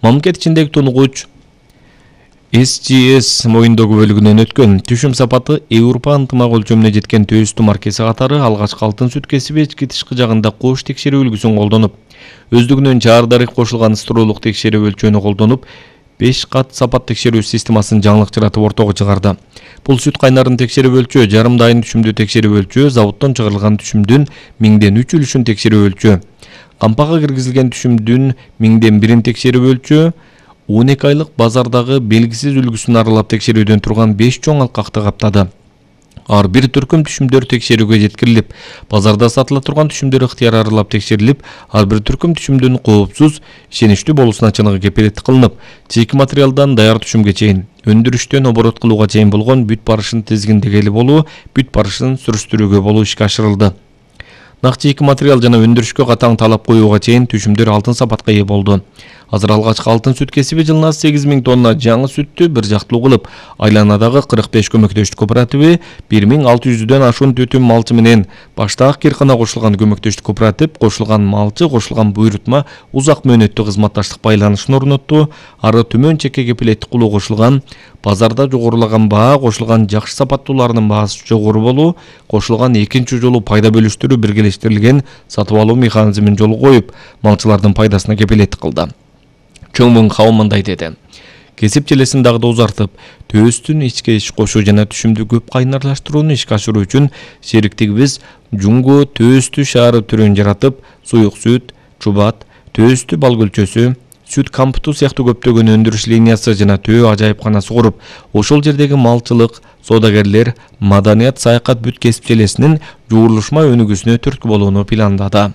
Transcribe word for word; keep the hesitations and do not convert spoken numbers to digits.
Мамлекет ичиндеги тунугуч эс джи эс моюндогу бөлүгүнөн өткөн түшүм сапаты Европа ынтымак өлчөмүнө жеткен төстү маркеси катары алгачкы алтын сүт кесиби ички тышкы жагында кош текшерүү үлгүсүн колдонуп, өздүгүнөн чаар-дарек кошулган стырулук текшерүү өлчөөнү колдонуп, беш кат сапат текшерүү системасын жаңылык жаратып ортого чыгарды. Бул сүт кайнарын текшерүү өлчөө, жарым дайын түшүмдү текшерүү өлчөө, заводдон чыгарылган түшүмдүн миңден үч үлүшүн текшерүү өлчөө, кампага киргизилген түшүмдүн миңден бирин текшерүү өлчөө, он эки айлык базардагы белгисиз үлгүсүн аралап текшерүүдөн турган беш чоң алкакты каптады. Ар бир түркүм түшүмдөр текшерүүгө жеткирилип, базарда сатыла турган түшүмдөр ыктыяр аралап текшерилип, ар бир түркүм түшүмдүн коопсуз, ишеничтүү болуусуна чыныгы кепилеттик кылынып, чийки материалдан даяр түшүмгө чейин, өндүрүштөн оборот кылууга чейин болгон бүт барышын тизгиндегели болуу, бүт барышын сүрүштүрүүгө болуу ишке ашырылды. Нак чийки материал жана өндүрүшкө катаң талап коюуга чейин түшүмдөр алтын сапатка ээ болду. Азыр алгачкы алтын сүт кесиби жылына сегиз миң тонна жаңы сүттү бир жактылуу кылып, айланадагы кырк беш көмөктөштүк кооперативи бир миң алты жүздөн ашуун түтүм малчы менен баштаак Киркана кошулган көмөктөштүк кооператив кошулган малчы кошулган буйрутма узак мөөнөттүү кызматташтык байланышын орнотту, ары төмөн чекке кепилеттик кылуу кошулган, базарда жогорулаган баа кошулган жакшы сапаттууларынын баасы жогору болуу, кошулган экинчи жолу пайда бөлүштүрүү биргелештирилген сатып алуу механизмин жолго коюп, малчылардын пайдасына кепилеттик кылды. Чоңмун кабыл мындай деди. Кесип желесин дагы да узартып, төстүн ичке иш кошуу жана түшүмдү көп кайнарлаштырууну ишке ашыруу үчүн шериктигибиз Жунго төстү шаары түрүн жаратып, суюк сүт, чубат, төстү бал көлчөсү, сүт кампуту сыяктуу көптөгөн өндүрүш линиясы жана төө ажайыпканасы куруп, ошол жердеги малчылык, соодагерлер, маданият, саякат бүт кесип желесинин жуурулушма өнүгүүсүнө түрткү болууну пландады.